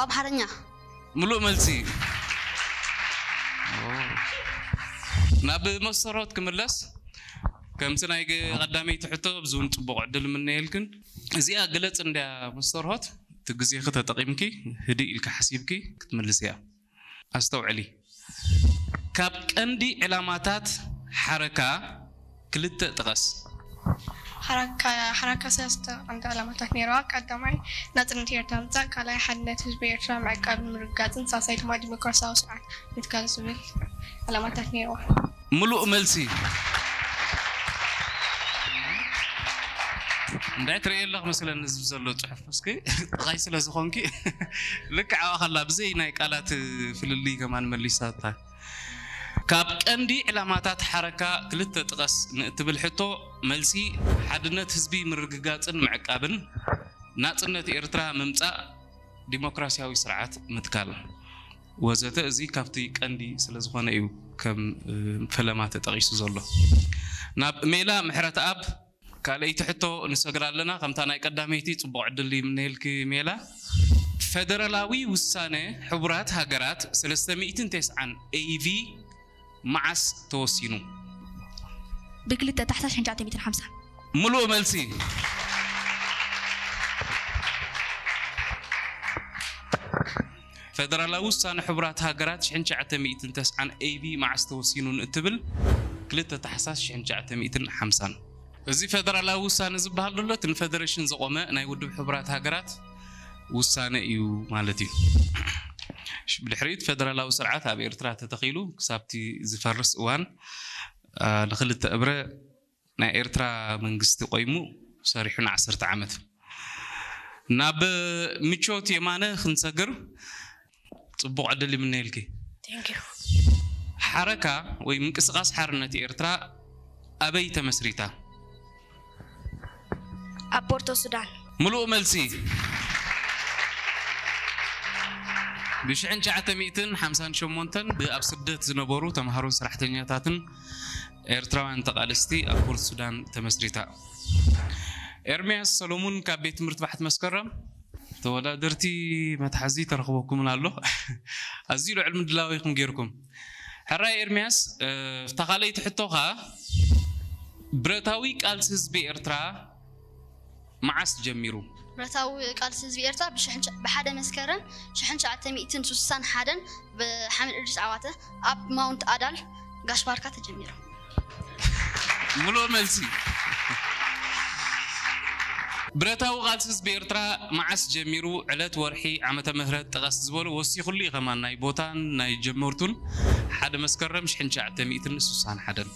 ኣምሓርኛ። ምሉእ መልሲ። ናብ መስተርሆት ክምለስ፣ ከምቲ ናይ ቀዳመይቲ ሕቶ፣ ኣብዚ እውን ጽቡቕ ዕድል ምነየልክን። እዚኣ ግለጽ እንድያ መስተርሆት፣ እቲ ግዜኺ ተጠቒምኪ ህድእ ኢልኪ ሓሲብኪ ክትምልስያ። ኣስተውዕሊ። ካብ ቀንዲ ዕላማታት ሓረካ ክልተ ጥቀስ። ሓራካ ሓራካ ሰለስተ ቀንዲ ዕላማታት ነይርዋ። ቀዳማይ ናጽነት ኤርትራ ምጻእ፣ ካልኣይ ሓድነት ህዝቢ ኤርትራ ምዕቃብን ምርግጋጽን፣ ሳልሳይ ድማ ዲሞክራሲያዊ ስርዓት ምትካል ዝብል ዕላማታት ነይርዋ። ምሉእ መልሲ። እንታይ ትርእየ ኣለኽ መስለኒ ህዝቢ ዘሎ ጽሑፍ እስኪ ጥቓይ ስለ ዝኾንኪ ልክዕ ኣዋ ከላ ብዘይ ናይ ቃላት ፍልልይ ከማን መሊሳታ። ካብ ቀንዲ ዕላማታት ሓረካ ክልተ ጥቀስ ንእትብል ሕቶ፣ መልሲ ሓድነት ህዝቢ ምርግጋጽን ምዕቃብን፣ ናጽነት ኤርትራ ምምጻእ፣ ዲሞክራሲያዊ ስርዓት ምትካል ወዘተ። እዚ ካብቲ ቀንዲ ስለ ዝኾነ እዩ ከም ፈለማ ተጠቒሱ ዘሎ። ናብ ሜላ ምሕረተኣብ ካልኣይቲ ሕቶ ንሰግር ኣለና። ከምታ ናይ ቀዳመይቲ ጽቡቕ ዕድል ይምነየልኪ ሜላ። ፈደራላዊ ውሳነ ሕቡራት ሃገራት ሰለስተ ሚእትን ተስዓን ኤ ቪ መዓስ ተወሲኑ? ብክልተ ታሕሳስ ሽሕን ትሽዓተ ሚእትን ሓምሳን። ምሉእ መልሲ። ፈደራላዊ ውሳነ ሕቡራት ሃገራት ሽሕን ትሽዓተ ሚእትን ተስዓን ኤ ቪ መዓስ ተወሲኑ ንእትብል፣ ክልተ ታሕሳስ ሽሕን ትሽዓተ ሚእትን ሓምሳን። እዚ ፈደራላዊ ውሳነ ዝበሃል ዘሎ እቲ ንፈደረሽን ዘቖመ ናይ ውድብ ሕቡራት ሃገራት ውሳነ እዩ ማለት እዩ። ብድሕሪኡ እቲ ፈደራላዊ ስርዓት ኣብ ኤርትራ ተተኺሉ ክሳብቲ ዝፈርስ እዋን፣ አ፣ ንኽልተ እብረ ናይ ኤርትራ መንግስቲ ቆይሙ ሰሪሑ ንዓሰርተ ዓመት። ናብ ምቾት የማነ ክንሰግር ጽቡቕ ዕድል ይምነየልኪ። Thank you። ሓረካ ወይ ምንቅስቃስ ሓርነት ኤርትራ ኣበይ ተመስሪታ? ኣብ ፖርቶ ሱዳን። ምሉእ መልሲ። ብሽሕን ትሽዓተ ሚእትን ሓምሳን ሸሞንተን ብኣብ ስደት ዝነበሩ ተምሃሮን ሰራሕተኛታትን ኤርትራውያን ተቓለስቲ ኣብ ፖርት ሱዳን ተመስሪታ። ኤርምያስ ሰሎሙን ካብ ቤት ትምህርቲ ባሕቲ መስከረም። ተወዳደርቲ መትሓዚ ተረኽበኩምን ኣሎ። ኣዝዩ ልዑል ምድላው ኢኹም ጌርኩም። ሕራይ ኤርምያስ፣ እ፣ እታ ካልኣይቲ ሕቶኻ፣ ብረታዊ ቃልሲ ህዝቢ ኤርትራ መዓስ ጀሚሩ? ብረታዊ ቃልሲ ህዝቢ ኤርትራ ብሽሕን ትሽ- ብሓደ መስከረም ሽሕን ትሽዓተ ሚእትን ስሳን ሓደን ብሓመድ እድሪስ ዓዋተ ኣብ ማውንት ኣዳል ጋሽ ባርካ ተጀሚሩ። ምሉእ መልሲ። ብረታዊ ቃልሲ ህዝቢ ኤርትራ መዓስ ጀሚሩ፣ ዕለት፣ ወርሒ፣ ዓመተ ምህረት ጥቀስ ዝበሉ ወሲኹሉ እዩ ከማን ናይ ቦታን ናይ ጀመርቱን። ሓደ መስከረም ሽሕን ትሽዓተ ሚእትን ስሳን ሓደን።